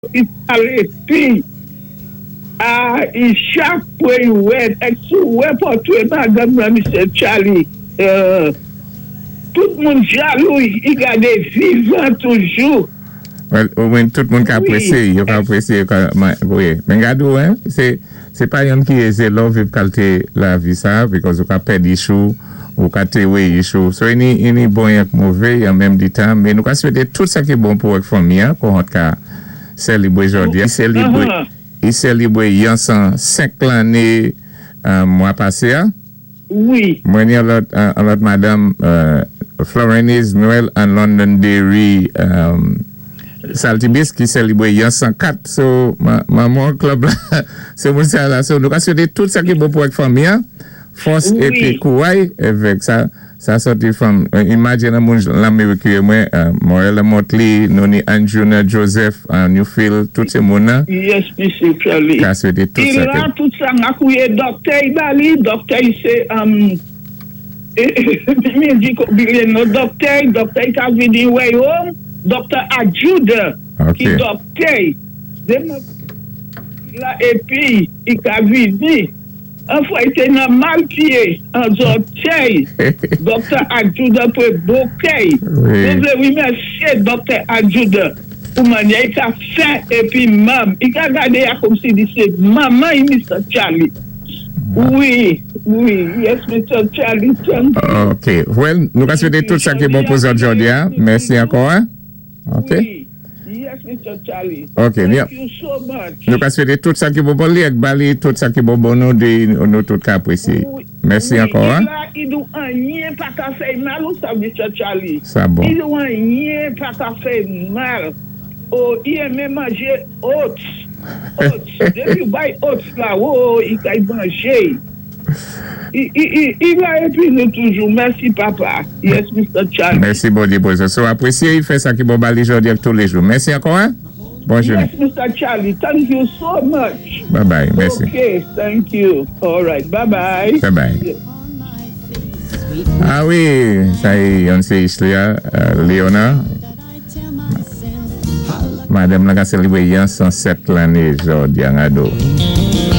I palé pi a i chak fwa i wè èk si ou wè pòtwé madanm lan Mister Charly tout moun jalou i gadé vivan toujou. Well wi tout moun ka apresye yo ka apresye yo ka wi men gad ou hein se se pa yonn ki eze lè w viv kalte lavi sa because ou ka pèdi chou ou ka te weyi chou so ini ini bon ak move an menm di tan men nou ka swete tout sa ki bon pou ak fanmi an kòhant ka selibre jodi a selibre i selibre yon 105 lanne mwa pase a. Wi. Mwen ni yon lòt yon lòt madanm Florenise Noël an Londonderry Saltibus ki selibre yon 104 so manman club la se moun sa la so nou ka swete tout sa ki bon pou ak fanmi an fòs epi kouray evèk sa sa sòti from imagine an moun lanmerik yo ye mwen Morella Motley nou ni Andjuna Joseph Newfield tout se moun nan Yes mesye Charly. ka swete tout sa ki. Ila tout sa makouye dòktè y ba li dòktè y se Midi bilye no dòktè y dòktè y ka vini wè yo dòktè Adjoude ki dòktè y deman la epi y ka vini. An fwa y te nan mal pye an zòtèy Doktè Adjoudan pre bokèy. Mwen vle remèsye Doktè Adjoudan pou manyè y ka fè epi manm y ka gade a komsi li se manman y Mister Charly. Wi, wi, yes Mister Charly, thank you. Ok, well, nou ka swete tout sa ki bon pou zòt jodi a. Mèsi ankò. Ok. Wi, yes Mister Charlie. Ok, Thank you so much. Nou ka swete tout sa ki bon pou li ak ba li tout sa ki bon bon nou de nou tout ka apresye. Mèsi ankò. Wi, la i dou anyen pa ka fè mal ou sa Mister Charlie. Sa bon. I dou anyen pa ka fè mal. Oh, i renmen manje oats. Oats. Depi ou bay oats la, oh, i kay manje. I la epi nou toujou mèsi papa yes Mister Charly. Mèsi Bondye pou sa. So apresye i fè sa ki bon ba li jodi ak toulejou. Mèsi ankò hein. Bon jounen. Yes Mister Charly thank you so much. Bye bye mèsi. Ok thank you alright bye bye. Bye bye. Ah wi sa e yonn se Islia Leona. Madanm lan ka selebre yon 107 lanne jodi a gado.